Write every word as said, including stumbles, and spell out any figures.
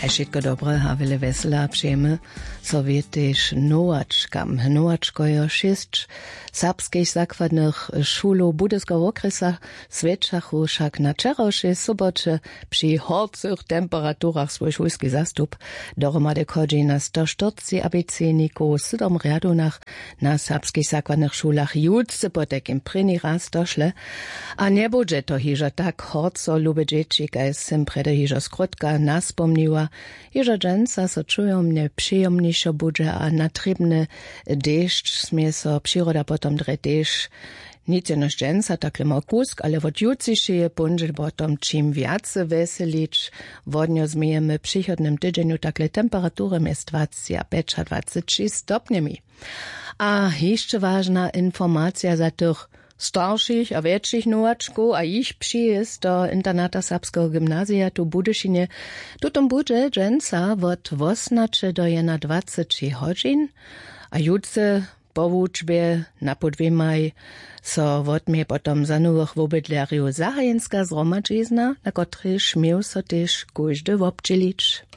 A wšitko dobre a wjele wjesela přejemy so wětež nowačkam. Nowačkojo šěsć serbskich zakładnych šulow budyskeho wokrjesa swjećachu wšak na wčerawšej soboće při horcych temperaturach swój šulski zastup. Dohromady chodźi na sto štyrceći abecednikow w sydom rjadownach na serbskich zakładnych šulach jutře potajkim prěni raz došle. A njebudźe to hižo tak horco, lube dźěći, kaž sym prjedy hižo skrótka naspomniła. Hižo dźensa so čujomnje přijomnišo budźe a na trěbny dešć smě so přiroda potom drje tež. Nic jenož dźensa takle mał kusk, ale wot jutřišeje póndźel potom ćim wjace wjeselić. Wodnjo změjemy w přichodnym tydźenju takle temperatury mjez dwaceći a pjećadwaceći stopnjemi. A hišće wažna informacija za tych staršich a wjetšich nowačkow a jich přijězd do internata serbskeho gymnazija tu w Budyšinje. Tutom budźe dźensa wot wosomnaće do jednadwaceći hodźin a jutře po wučbje na pół dwěmaj so wotměje potom za nowych wobydlerjow zahajenská zhromadźizna, na kotrejž měł so tež kóždy wobdźělić.